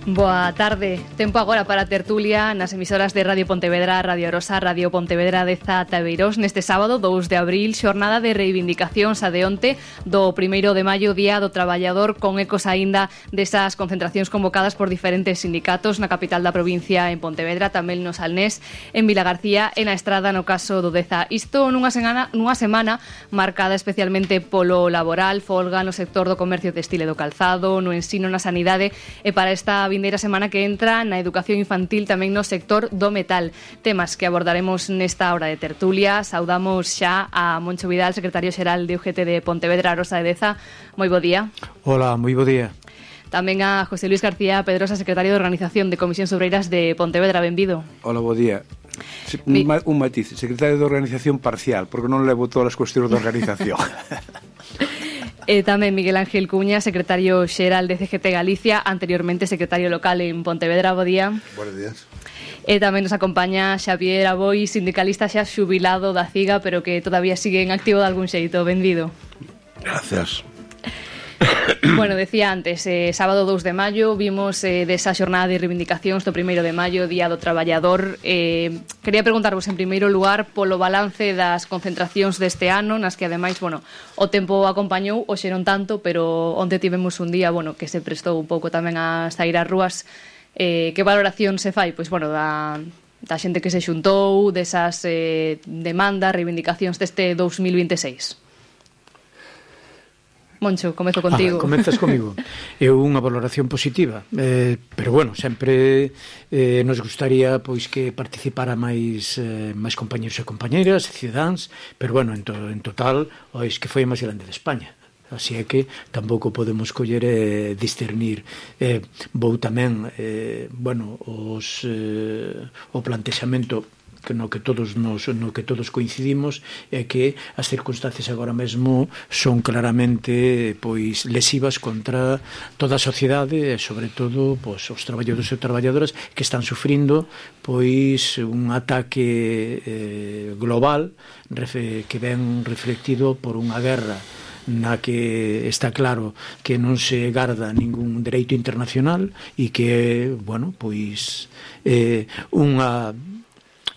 Boa tarde. Tempo agora para a tertulia nas emisoras de Radio Pontevedra, Radio Rosa, Radio Pontevedra de Tabeirós neste sábado 2 de abril, xornada de reivindicacións a de onte do 1º de maio, Día do Traballador, con ecos aínda desas concentracións convocadas por diferentes sindicatos na capital da provincia en Pontevedra, tamén no Salnés, en Vilagarcía e na Estrada no caso do Deza. Isto nunha semana marcada especialmente polo laboral, folga no sector do comercio textil e do calzado, no ensino, na sanidade e para esta vindeira semana que entra na educación infantil tamén no sector do metal. Temas que abordaremos nesta hora de tertulia. Saudamos xa a Moncho Vidal, secretario xeral de UGT de Pontevedra, Rosa de Deza. Moi bo día. Hola, moi bo día. Tamén a José Luis García Pedrosa, secretario de Organización de Comisións Obreiras de Pontevedra. Benvido. Hola, bo día. Un matiz, secretario de Organización parcial, porque non levo todas as cuestións de organización. E tamén Miguel Ángel Cuña, secretario xeral de CGT Galicia, anteriormente secretario local en Pontevedra. Bo día. Buenos días. E tamén nos acompaña Xavier Aboi, sindicalista xa xubilado da CIGA, pero que todavía sigue en activo de algún xeito. Benvido. Gracias. Bueno, decía antes, sábado 2 de maio vimos desa xornada de reivindicacións do 1º de maio, Día do Traballador. Quería preguntarvos en primeiro lugar polo balance das concentracións deste ano, nas que ademais, bueno, o tempo acompañou, hoxe non tanto, pero onte tivemos un día, bueno, que se prestou un pouco tamén a sair ás rúas. Que valoración se fai? Pois, bueno, da xente que se xuntou, desas demandas, reivindicacións deste 2026. Moncho, comezo contigo. Comezas comigo. Eu unha valoración positiva, pero bueno, sempre nos gustaría pois que participara máis compañeros e compañeras, cidadáns, pero bueno, en total, que foi a máis grande de España. Así é que tampouco podemos coller e discernir. Vou tamén, o plantexamento no que todos coincidimos é que as circunstancias agora mesmo son claramente pois lesivas contra toda a sociedade e sobre todo pois os traballadores e traballadoras que están sufrindo pois un ataque global que ven reflectido por unha guerra na que está claro que non se garda ningún dereito internacional e que, bueno, pois unha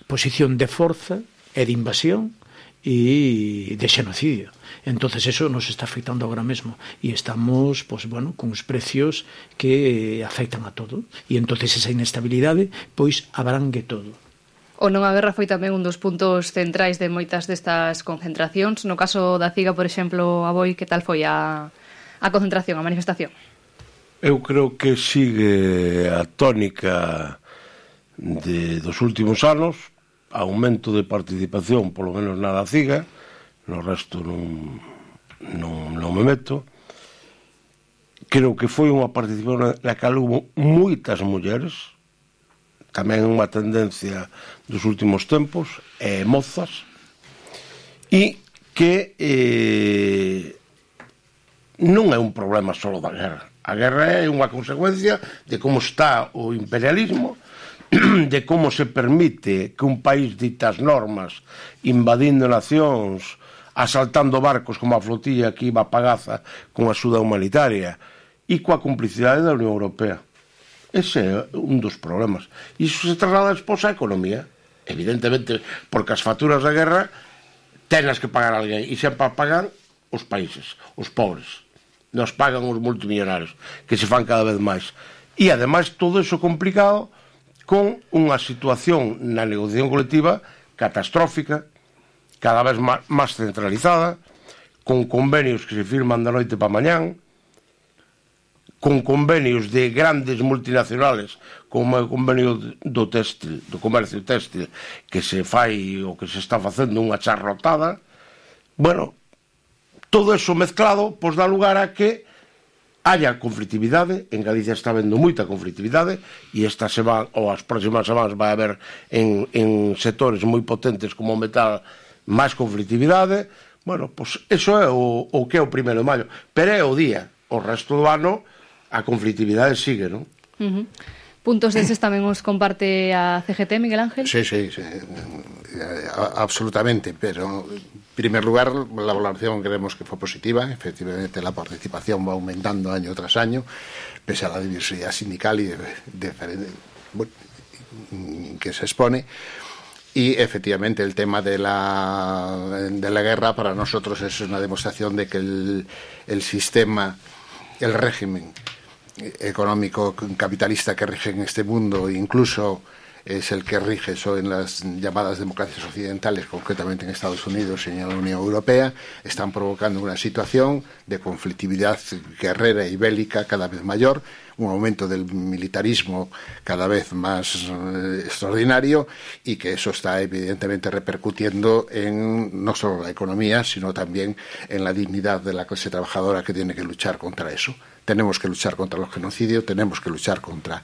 posición de forza e de invasión e de xenocidio. Entonces eso nos está afectando agora mesmo e estamos, pois, bueno, con os precios que afectan a todo e entonces esa inestabilidade pois abrangue todo. O non a guerra foi tamén un dos puntos centrais de moitas destas concentracións. No caso da CIGA, por exemplo, Aboi, que tal foi a concentración, a manifestación? Eu creo que sigue a tónica dos últimos anos, aumento de participación, polo menos na da CIGA, no resto non me meto. Creo que foi unha participación na que houve moitas mulleres, tamén unha tendencia dos últimos tempos, mozas, e que non é un problema só da guerra. A guerra é unha consecuencia de como está o imperialismo, de como se permite que un país dita as normas, invadindo nacións, asaltando barcos como a flotilla que iba a Pagaza con axuda humanitaria e coa complicidade da Unión Europea. Ese é un dos problemas. E iso se traslada despois á economía, evidentemente, porque as facturas da guerra tenas que pagar alguén e sempre pagan os países, os pobres. Nos pagan os multimillonarios, que se fan cada vez máis. E ademais todo iso complicado con unha situación na negociación colectiva catastrófica, cada vez máis centralizada, con convenios que se firman da noite para mañán, con convenios de grandes multinacionales, como o convenio do téxtil, do comercio téxtil, que se fai ou que se está facendo unha charrotada. Bueno, todo eso mezclado pois dá lugar a que haya conflitividade. En Galicia está habendo moita conflitividade e esta semana ou as próximas semanas vai haber en sectores moi potentes como o metal máis conflitividade. Bueno, pois eso é o que é o 1º de maio, pero é o día. O resto do ano a conflitividade sigue, non? Puntos deses tamén os comparte a CGT, Miguel Ángel? Sí, absolutamente, pero en primer lugar la valoración creemos que fue positiva. Efectivamente la participación va aumentando año tras año, pese a la diversidad sindical y que se expone. Y efectivamente el tema de la guerra para nosotros es una demostración de que el sistema, el régimen económico capitalista que rige en este mundo, incluso es el que rige eso en las llamadas democracias occidentales, concretamente en Estados Unidos y en la Unión Europea, están provocando una situación de conflictividad guerrera y bélica cada vez mayor, un aumento del militarismo cada vez más extraordinario, y que eso está evidentemente repercutiendo en no solo la economía, sino también en la dignidad de la clase trabajadora, que tiene que luchar contra eso. Tenemos que luchar contra los genocidios, tenemos que luchar contra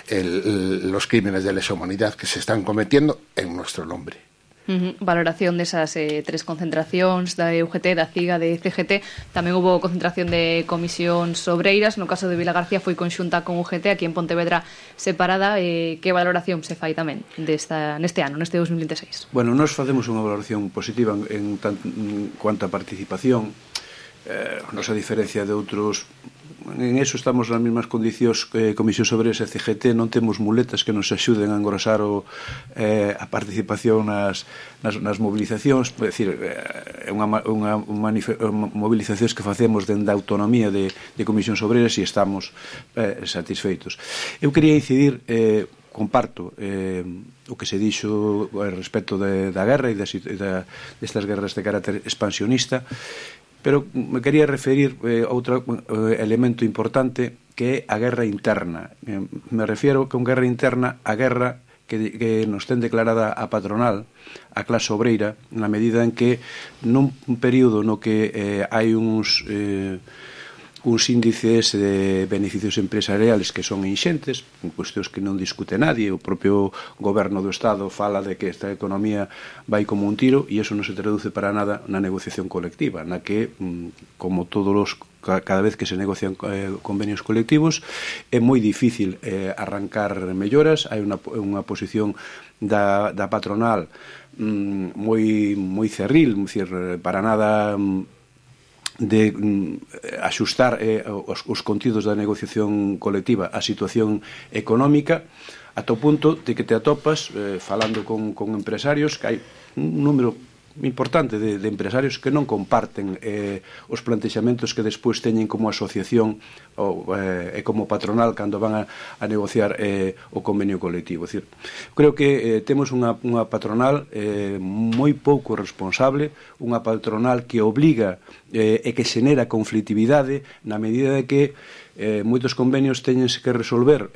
los crímenes de lesa humanidad que se están cometiendo en nuestro nombre. Valoración desas tres concentracións da UGT, da CIGA, de CGT. Tamén houve concentración de comisións obreiras. No caso de Vilagarcía foi conxunta con UGT, aquí en Pontevedra separada. Que valoración se fai tamén neste ano, neste 2026? Bueno, nós facemos unha valoración positiva en cuanto a participación. Nos a diferencia de outros, en eso estamos nas mesmas condicións que Comisión sobre ese CGT. Non temos muletas que nos axuden a engrosar a participación nas mobilizacións. É dicir, é unha mobilizacións que facemos dende a autonomía de Comisión Obreiras e estamos satisfeitos. Eu quería incidir, comparto o que se dixo respecto da guerra e destas guerras de carácter expansionista, pero me quería referir a outro elemento importante, que é a guerra interna. Me refiero que a guerra interna, a guerra que nos ten declarada a patronal, a clase obreira, na medida en que nun período no que hai uns índices de beneficios empresariales que son inxentes, cuestións que non discute nadie. O propio goberno do Estado fala de que esta economía vai como un tiro, e iso non se traduce para nada na negociación colectiva, na que, como cada vez que se negocian convenios colectivos, é moi difícil arrancar melloras. Hai unha posición da patronal moi cerril, para nada de axustar os contidos da negociación colectiva á situación económica, ata o punto de que te atopas falando con empresarios, que hai un número importante de empresarios que non comparten os plantexamentos que despois teñen como asociación e como patronal cando van a negociar o convenio colectivo. É dicir, creo que temos unha patronal moi pouco responsable, unha patronal que obliga e que xenera conflitividade, na medida de que moitos convenios teñense que resolver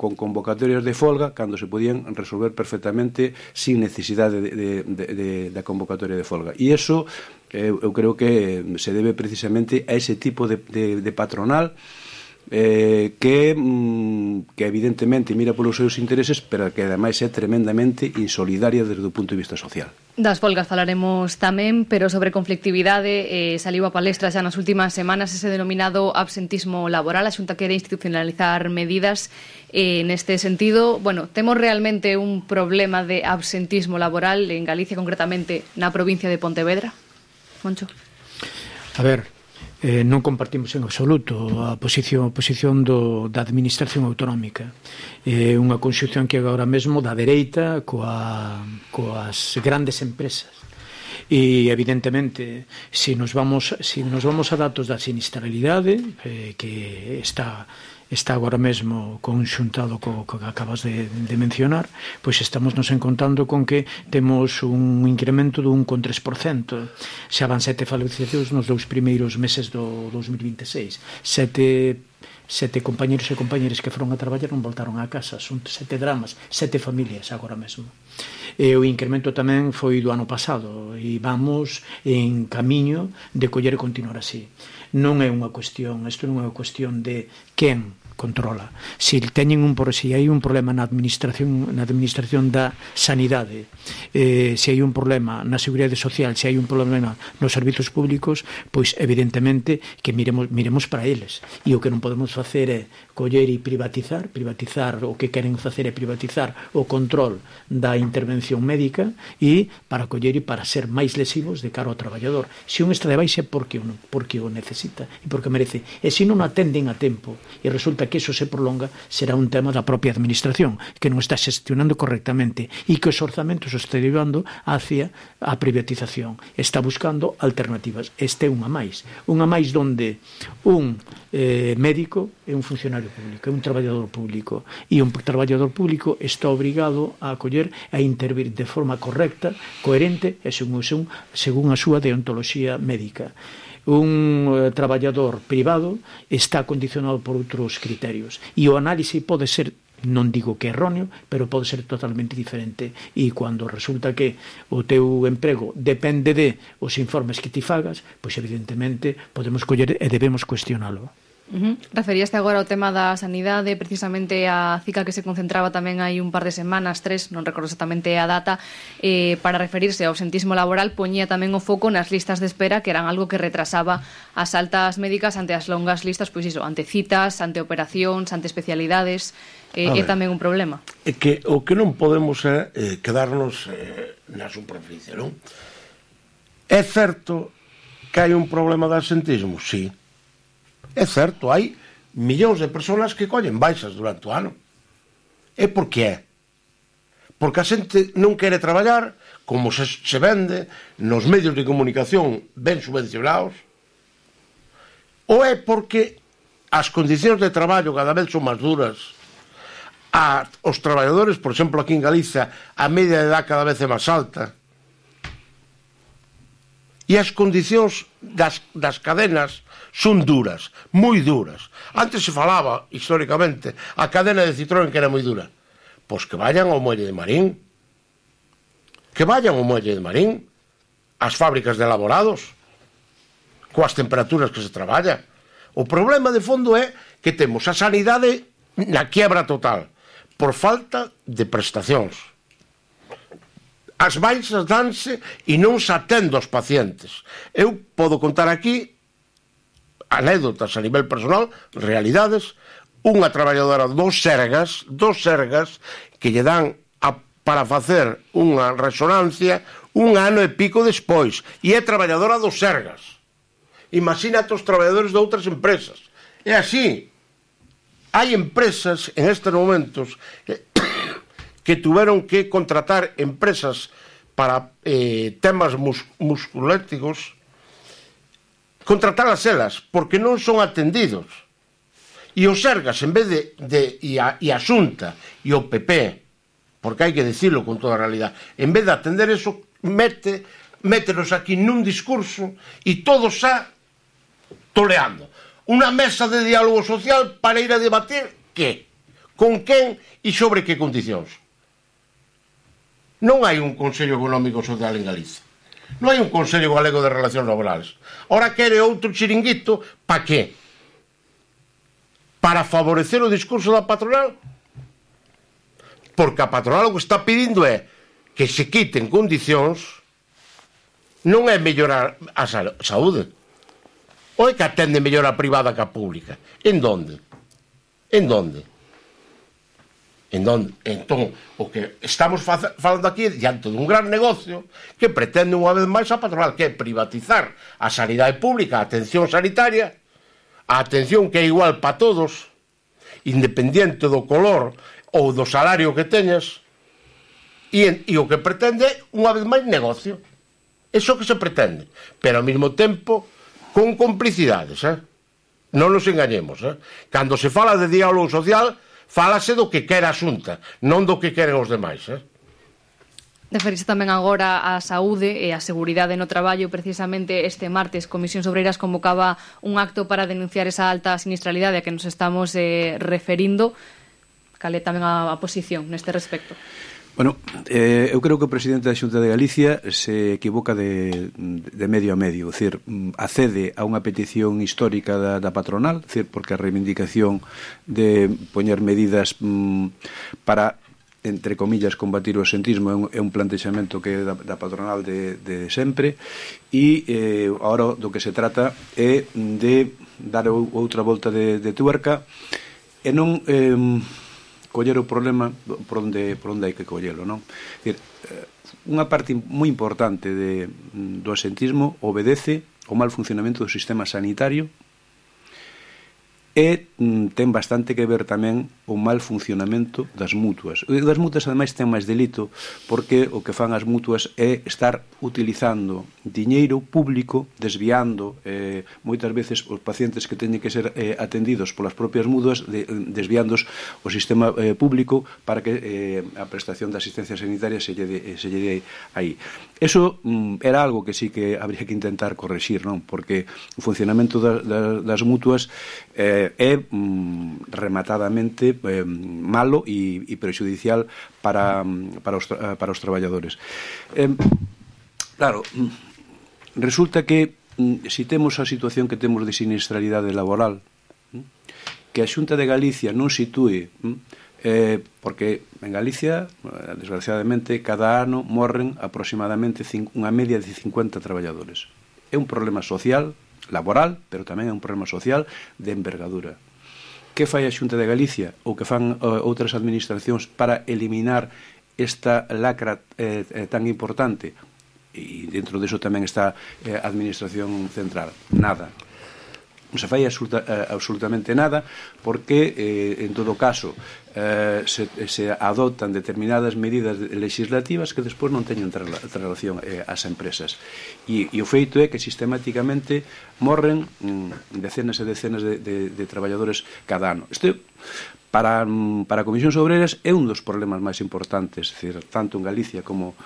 con convocatorias de folga, cando se podían resolver perfectamente sin necesidade da convocatoria de folga. E iso eu creo que se debe precisamente a ese tipo de patronal que evidentemente mira polos seus intereses, pero que ademais é tremendamente insolidaria desde o punto de vista social. Das folgas falaremos tamén, pero sobre conflictividade saliu a palestra xa nas últimas semanas ese denominado absentismo laboral. A Xunta quere institucionalizar medidas neste sentido. Bueno, temos realmente un problema de absentismo laboral en Galicia, concretamente na provincia de Pontevedra? Moncho. A ver, non compartimos en absoluto a posición da administración autonómica. É unha conxunción que agora mesmo da dereita coas grandes empresas. E evidentemente, se nos vamos a datos da sinistralidade, que está agora mesmo conxuntado co que acabas de mencionar, pois estamos nos encontrando con que temos un incremento dun 3%. Xa van 7 fallecidos nos 2 primeiros meses do 2026. Sete compañeros e compañeras que foron a traballar non voltaron a casa. Son 7 dramas, 7 familias agora mesmo. E o incremento tamén foi do ano pasado, e vamos en camiño de coller e continuar así. Non é unha cuestión, isto non é unha cuestión de quen controla. Se hai un problema na administración da sanidade, se hai un problema na seguridade social, se hai un problema nos servizos públicos, pois evidentemente que miremos para eles. E o que non podemos facer é coller e privatizar o que queren facer é privatizar o control da intervención médica e para coller e para ser máis lesivos de cara ao traballador. Se un está de baixa é porque o necesita e porque merece. E se non o atenden a tempo e resulta que eso se prolonga, será un tema da propia administración que non está xestionando correctamente e que os orzamentos os está llevando hacia a privatización. Está buscando alternativas. Este é unha máis donde un médico é un funcionario público, é un traballador público e un traballador público está obrigado a acoller a intervir de forma correcta, coherente e según a súa deontoloxía médica. Un traballador privado está condicionado por outros criterios e o análise pode ser, non digo que erróneo, pero pode ser totalmente diferente e cando resulta que o teu emprego depende de os informes que ti fagas, pois evidentemente podemos coller e debemos cuestionalo. Referíaste agora ao tema da sanidade, precisamente a CICA que se concentraba tamén hai un par de semanas, 3, non recordo exactamente a data, para referirse ao absentismo laboral, poñía tamén o foco nas listas de espera, que eran algo que retrasaba as altas médicas ante as longas listas, pois iso, ante citas, ante operacións, ante especialidades, é tamén un problema. É que o que non podemos é quedarnos na superficie, non? É certo que hai un problema de absentismo, sí. É certo, hai millóns de persoas que collen baixas durante o ano. E por que é? Porque a xente non quere traballar, como se vende nos medios de comunicación ben subvencionados, ou é porque as condicións de traballo cada vez son máis duras, os traballadores, por exemplo, aquí en Galicia, a media de edad cada vez é máis alta, e as condicións das cadenas son duras, moi duras. Antes se falaba, históricamente, a cadena de Citroën que era moi dura. Pois que vayan ao muelle de Marín. Que vayan ao muelle de Marín. As fábricas de elaborados. Coas temperaturas que se traballa. O problema de fondo é que temos a sanidade na quiebra total, por falta de prestacións. As baixas danse e non se atende aos pacientes. Eu podo contar aquí anécdotas a nivel personal, realidades. Unha traballadora dos Sergas que lle dan para facer unha resonancia un ano e pico despois e é traballadora dos Sergas. Imagínate os traballadores de outras empresas. É así. Hai empresas en estes momentos que tuveron que contratar empresas para temas musculéticos, contratalas elas, porque non son atendidos. E os Sergas, en vez e a Xunta e o PP, porque hai que dicirlo con toda a realidade, en vez de atender eso, métenos aquí nun discurso e todos xa toleando. Unha mesa de diálogo social para ir a debatir que? Con quen e sobre que condicións? Non hai un Consello Económico Social en Galicia. Non hai un Consello Galego de Relacións Laborales. Ora quere outro chiringuito, pa que? Para favorecer o discurso da patronal? Porque a patronal o que está pedindo é que se quiten condicións, non é mellorar a saúde. Ou é que atende mellor a privada que a pública? En donde? Entón, o que estamos falando aquí é diante dun gran negocio que pretende unha vez máis a patronal, que é privatizar a sanidade pública, a atención sanitaria, a atención que é igual para todos, independiente do color ou do salario que teñas, e o que pretende é unha vez máis negocio. Eso que se pretende, pero ao mesmo tempo con complicidades, non nos engañemos. Cando se fala de diálogo social, fálase do que quere a Xunta, non do que queren os demais. Referirse tamén agora á saúde e á seguridade no traballo. Precisamente este martes, Comisións Obreiras convocaba un acto para denunciar esa alta sinistralidade a que nos estamos referindo. Cal é tamén a posición neste respecto? Bueno, eu creo que o presidente da Xunta de Galicia se equivoca de medio a medio, é dicir, accede a unha petición histórica da patronal, é dicir, porque a reivindicación de poñer medidas para, entre comillas, combatir o absentismo é un plantexamento que é da patronal de sempre, e agora do que se trata é de dar outra volta de tuerca e non coller o problema por onde hai que collelo, non? É dicir, unha parte moi importante do absentismo obedece ao mal funcionamento do sistema sanitario e ten bastante que ver tamén o mal funcionamento das mutuas. O das mutuas, ademais, ten máis delito porque o que fan as mutuas é estar utilizando diñeiro público, desviando moitas veces os pacientes que teñen que ser atendidos polas propias mutuas, desviándos o sistema público para que a prestación da asistencia sanitaria se lle dé aí. Eso era algo que sí que habría que intentar correxir, non? Porque o funcionamento das mutuas é rematadamente malo e prexudicial para os traballadores. Claro, resulta que se temos a situación que temos de sinistralidade laboral, que a Xunta de Galicia non sitúe, porque en Galicia, desgraciadamente, cada ano morren aproximadamente unha media de 50 traballadores. É un problema social, laboral, pero tamén é un problema social de envergadura. Que fai a Xunta de Galicia ou que fan outras administracións para eliminar esta lacra tan importante? E dentro deso tamén está a Administración Central. Nada. Non se fai absolutamente nada porque, en todo caso, se adoptan determinadas medidas legislativas que despois non teñen relación ás empresas. E o feito é que sistemáticamente morren decenas e decenas de traballadores cada ano. Isto, para Comisións Obreras, é un dos problemas máis importantes, tanto en Galicia como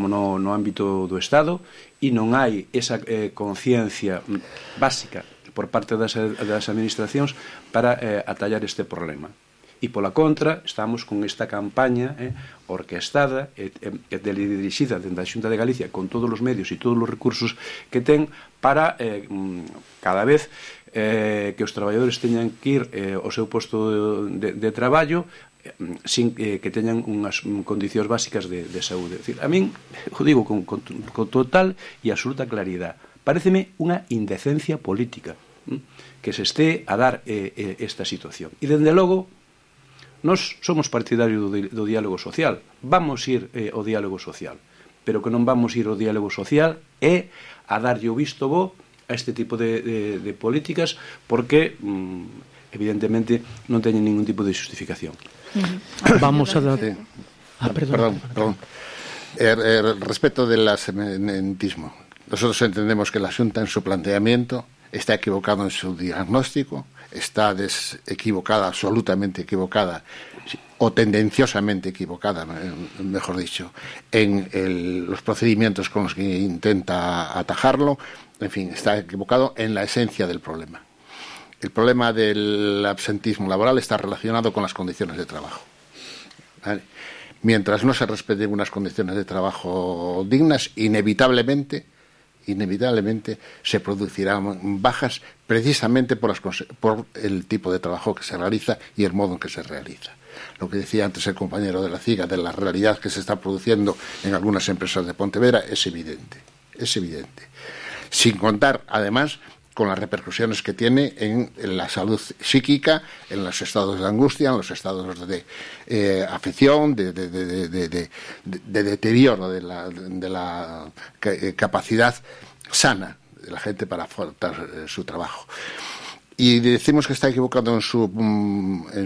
no ámbito do Estado, e non hai esa conciencia básica por parte das administracións para atallar este problema. E pola contra, estamos con esta campaña orquestada e dirixida dentro da Xunta de Galicia con todos os medios e todos os recursos que ten para cada vez que os traballadores teñan que ir ao seu posto de traballo sin que teñan unhas condicións básicas de saúde. É dicir, a min, o digo con total e absoluta claridade, paréceme unha indecencia política que se este a dar esta situación. E, dende logo, nós somos partidarios do diálogo social. Vamos ir ao diálogo social. Pero que non vamos ir ao diálogo social é a darlle o visto bo a este tipo de políticas porque, evidentemente, non teñen ningún tipo de justificación. Vamos a dar... Perdón. Respecto del absentismo, nosotros entendemos que la Xunta en su planteamiento está equivocado en su diagnóstico, está equivocada, absolutamente equivocada, o tendenciosamente equivocada, mejor dicho, en los procedimientos con los que intenta atajarlo. En fin, está equivocado en la esencia del problema. El problema del absentismo laboral está relacionado con las condiciones de trabajo. ¿Vale? Mientras no se respeten unas condiciones de trabajo dignas, inevitablemente se producirán bajas precisamente por el tipo de trabajo que se realiza y el modo en que se realiza. Lo que decía antes el compañero de la CIGA de la realidad que se está produciendo en algunas empresas de Pontevedra es evidente. Sin contar, además, con las repercusiones que tiene en la salud psíquica, en los estados de angustia, en los estados de afección, de deterioro de la capacidad sana de la gente para afrontar su trabajo. Y decimos que está equivocado en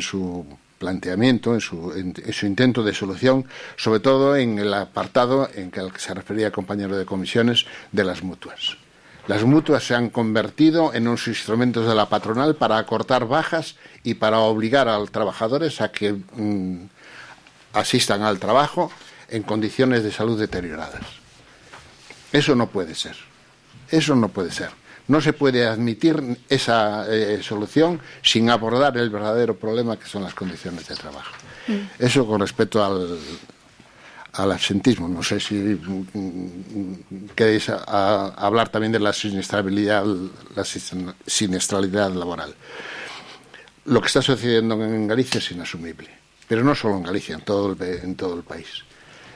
su planteamiento, en su intento de solución, sobre todo en el apartado en que al que se refería el compañero de comisiones de las mutuas. Las mutuas se han convertido en unos instrumentos de la patronal para acortar bajas y para obligar a los trabajadores a que asistan al trabajo en condiciones de salud deterioradas. Eso no puede ser. No se puede admitir esa solución sin abordar el verdadero problema que son las condiciones de trabajo. Eso con respecto al absentismo. No sé si queréis hablar también de la siniestralidad laboral. Lo que está sucediendo en Galicia es inasumible, pero no solo en Galicia, en todo el país.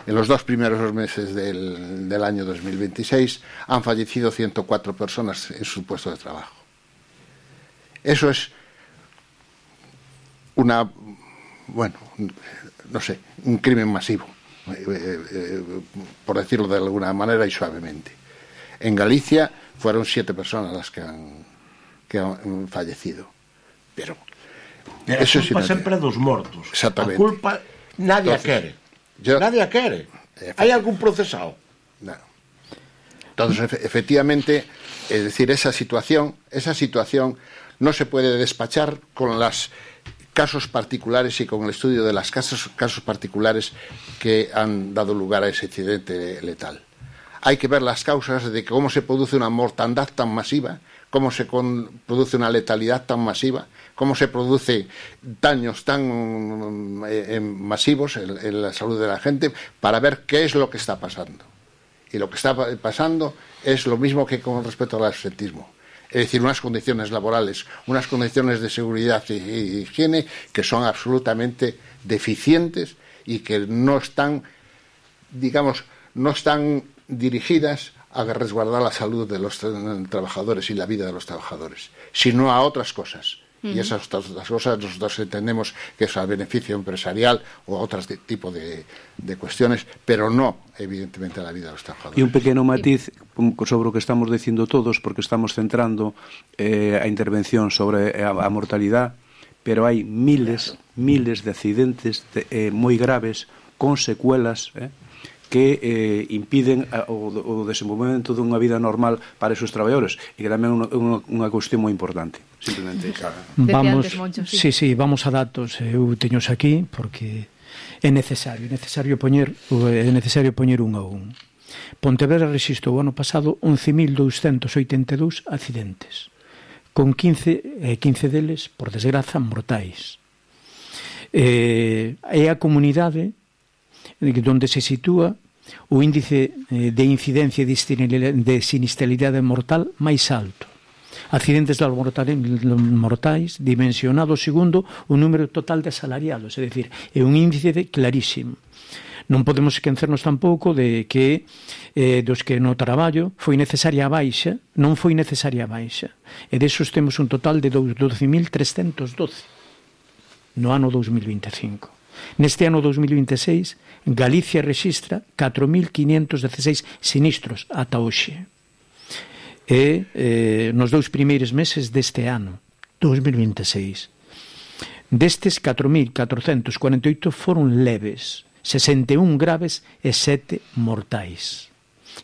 En los 2 primeros meses del año 2026 han fallecido 104 personas en su puesto de trabajo. Eso es un crimen masivo, por decirlo de alguna manera y suavemente. En Galicia fueron 7 personas las que han fallecido. Pero eso culpa sempre dos mortos. Exactamente. A culpa nadie a quere. Nadie a quere. Hai algún procesado? No. Entonces, efectivamente, es decir, esa situación no se puede despachar con los casos particulares y con el estudio de los casos particulares que han dado lugar a ese accidente letal. Hay que ver las causas de cómo se produce una mortandad tan masiva, cómo se produce una letalidad tan masiva, cómo se produce daños tan masivos en la salud de la gente, para ver qué es lo que está pasando. Y lo que está pasando es lo mismo que con respecto al absentismo. Es decir, unas condiciones laborales, unas condiciones de seguridad y higiene que son absolutamente deficientes y que no están dirigidas a resguardar la salud de los trabajadores y la vida de los trabajadores, sino a otras cosas. Y esas otras cosas nosotros entendemos que es al beneficio empresarial o a otro tipo de cuestiones, pero no, evidentemente, a la vida de los trabajadores. E un pequeno matiz sobre o que estamos dicindo todos, porque estamos centrando a intervención sobre a mortalidade, pero hai miles de accidentes moi graves con secuelas que impiden o desenvolvemento dunha vida normal para esos traballadores, e que tamén é unha cuestión moi importante. Simplemente vamos a datos. Eu teños aquí porque é necesario poñer un a un. Pontevedra rexistrou o ano pasado 11.282 accidentes, con 15 deles, por desgraza, mortais. É a comunidade donde se sitúa o índice de incidencia de sinistralidade mortal máis alto. Accidentes mortais dimensionados segundo o número total de asalariados, é dicir, é un índice clarísimo. Non podemos esquecernos tampouco de que dos que no traballo foi necesaria a baixa, non foi necesaria a baixa, e desos temos un total de 12.312 no ano 2025. Neste ano 2026, Galicia rexistra 4.516 sinistros ata hoxe. E nos 2 primeiros meses deste ano, 2026. Destes, 4.448 foron leves, 61 graves e 7 mortais.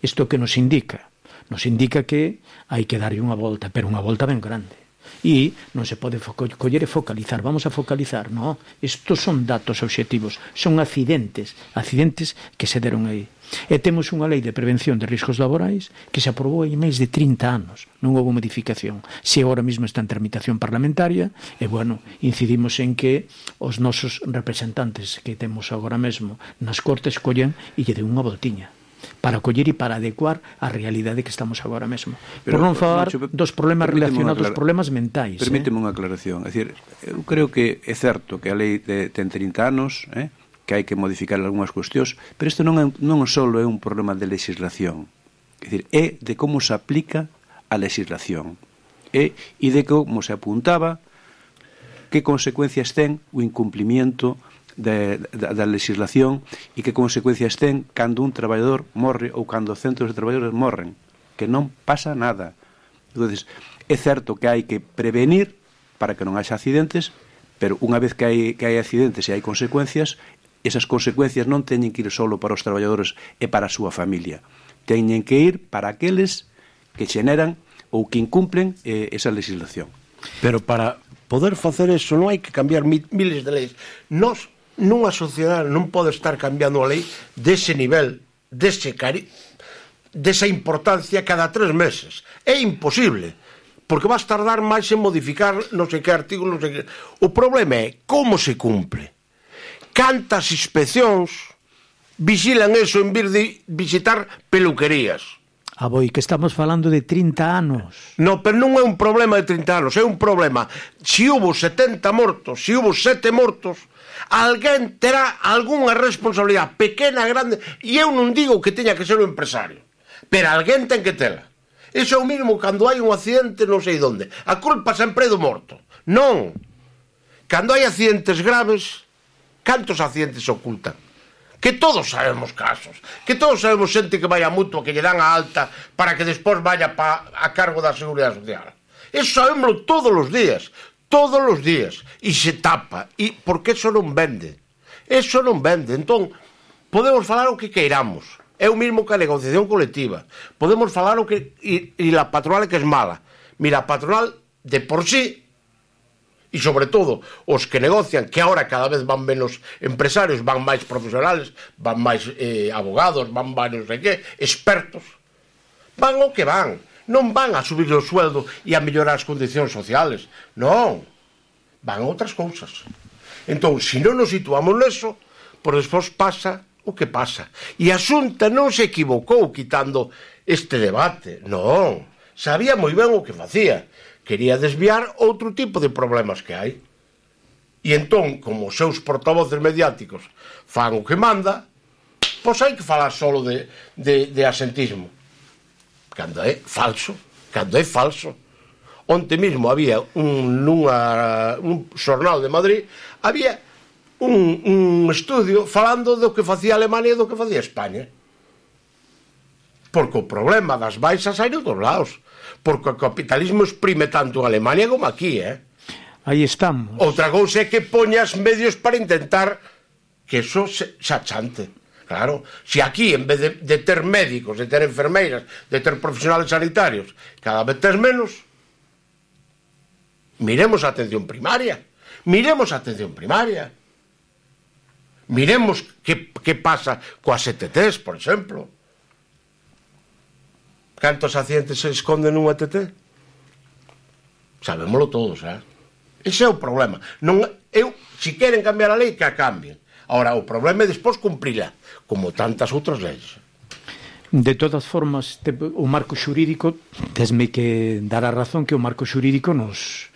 Isto que nos indica? Nos indica que hai que darlle unha volta, pero unha volta ben grande. E non se pode coller e focalizar. Vamos a focalizar, non? Estos son datos obxectivos, son accidentes que se deron aí. E temos unha lei de prevención de riscos laborais que se aprobou hai máis de 30 anos, non houve modificación. Se agora mesmo está en tramitación parlamentaria, e bueno, incidimos en que os nosos representantes que temos agora mesmo nas Cortes collen e lle den unha voltiña para coller e para adecuar a realidade que estamos agora mesmo. Por non falar dos problemas relacionados, problemas mentais. Permíteme unha aclaración. É dicir, eu creo que é certo que a lei ten 30 anos, que hai que modificar algunhas cuestións, pero isto non só é un problema de legislación. É dicir, é de como se aplica a legislación. E de como se apuntaba que consecuencias ten o incumplimiento da legislación e que consecuencias ten cando un traballador morre ou cando centros de traballadores morren, que non pasa nada. Entonces, é certo que hai que prevenir para que non haxa accidentes, pero unha vez que hai accidentes e hai consecuencias, esas consecuencias non teñen que ir solo para os traballadores e para a súa familia, teñen que ir para aqueles que xeneran ou que incumplen esa legislación. Pero para poder facer eso non hai que cambiar miles de leis. Nunha sociedade non pode estar cambiando a lei dese nivel, desa importancia cada 3 meses. É imposible, porque vas tardar máis en modificar non sei que artigo, non sei que. O problema é como se cumple. Cantas inspeccións vixilan eso en vez de visitar peluquerías. Boi, que estamos falando de 30 anos. No, pero non é un problema de 30 anos, é un problema. Se hubo 70 mortos, se hubo 7 mortos, alguén terá algunha responsabilidade pequena, grande, e eu non digo que teña que ser o empresario, pero alguén ten que tela. Iso é o mismo cando hai un accidente non sei onde. A culpa sempre é do morto. Non. Cando hai accidentes graves, cantos accidentes se ocultan? Que todos sabemos casos, que todos sabemos xente que vai a mutua, que lle dan a alta para que despois vaya a cargo da Seguridade Social. Eso sabemos todos os días, e se tapa, e porque eso non vende. Entón, podemos falar o que queiramos, é o mismo que a negociación colectiva, podemos falar o que e la patronal que es mala. Mira, a patronal de por sí, e sobre todo os que negocian, que agora cada vez van menos empresarios, van máis profesionales, van máis abogados, van máis non sei que, expertos, van o que van, non van a subir o sueldo e a mellorar as condicións sociales, non, van a outras cousas. Entón, se non nos situamos neso, por despois pasa o que pasa. E a Xunta non se equivocou quitando este debate, non, sabía moi ben o que facía. Quería desviar outro tipo de problemas que hai. E entón, como os seus portavoces mediáticos fan o que manda, pois hai que falar solo de asentismo. Cando é falso. Onte mesmo había un xornal de Madrid, había un estudio falando do que facía Alemania e do que facía España. Porque o problema das baixas hai nos dos lados. Porque o capitalismo exprime tanto en Alemania como aquí, Aí estamos. Outra cousa é que poñas medios para intentar que eso se achante. Claro, se aquí, en vez de ter médicos, de ter enfermeiras, de ter profesionales sanitarios, cada vez tes menos, miremos a atención primaria. Miremos que pasa coas ETTs, por exemplo. Cantos accidentes se esconden nunha ETT? Sabémoslo todos, Ese é o problema. Se queren cambiar a lei, que a cambien. Ahora, o problema é despois cumprila, como tantas outras leis. De todas formas, o marco xurídico, tesme que dar a razón que o marco xurídico nos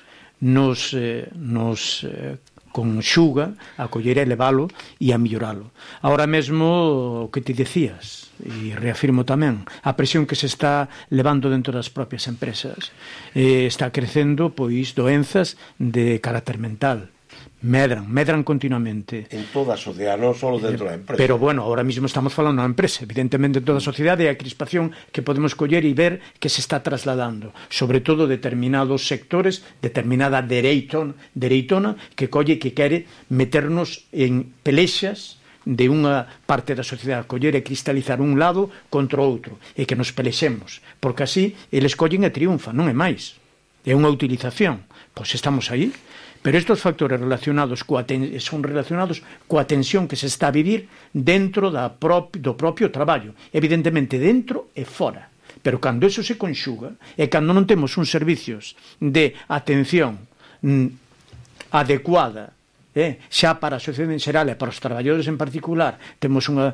conxuga a coller e levalo e a melloralo. Ahora mesmo, o que te decías, e reafirmo tamén, a presión que se está levando dentro das propias empresas, está crecendo, pois, doenzas de carácter mental. Medran continuamente. En toda a sociedade, non só dentro da empresa. Pero, bueno, ahora mismo estamos falando da empresa. Evidentemente, en toda a sociedade, a crispación que podemos coller e ver que se está trasladando. Sobre todo, determinados sectores, determinada dereitona, que colle que quere meternos en pelexas de unha parte da sociedade, coller e cristalizar un lado contra outro, e que nos pelexemos. Porque así, eles collen e triunfan, non é máis. É unha utilización. Pois estamos aí. Pero estes factores son relacionados coa tensión que se está a vivir dentro do propio traballo. Evidentemente, dentro e fora. Pero cando eso se conxuga, e cando non temos uns servicios de atención adecuada, xa para a sociedade en xeral e para os traballadores en particular, temos unha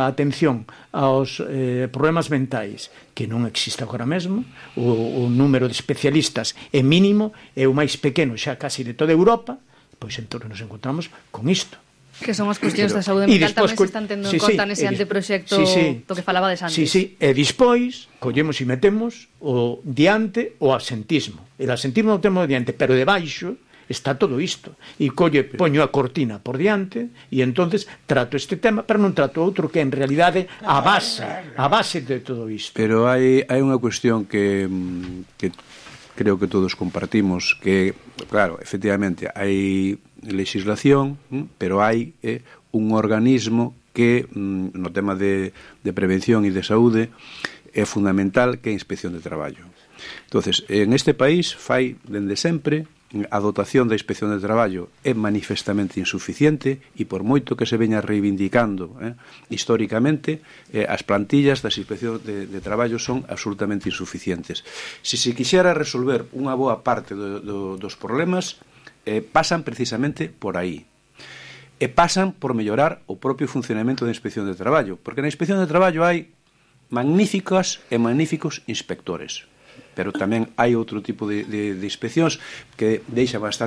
atención aos problemas mentais que non existe agora mesmo. O número de especialistas é mínimo, é o máis pequeno xa casi de toda Europa, pois entón nos encontramos con isto. Que son as cuestións da saúde mental tamén se están tendo en conta nese anteproxecto do que falabades antes. E despois collemos e metemos o diante o absentismo. El absentismo non temos diante, pero debaixo está todo isto, e poño a cortina por diante, e entonces trato este tema, pero non trato outro que en realidade a base de todo isto. Pero hai unha cuestión que creo que todos compartimos, que, claro, efectivamente hai legislación, pero hai un organismo que no tema de prevención e de saúde é fundamental, que é a Inspección de Traballo. Entonces, en este país fai dende sempre a dotación da Inspección de Traballo é manifestamente insuficiente, e por moito que se veña reivindicando históricamente, as plantillas das Inspección de Traballo son absolutamente insuficientes. Se quixera resolver unha boa parte dos problemas, pasan precisamente por aí. e pasan por mellorar o propio funcionamento da Inspección de Traballo, porque na Inspección de Traballo hai magníficos inspectores, pero tamén hai outro tipo de inspeccións que deixa bastante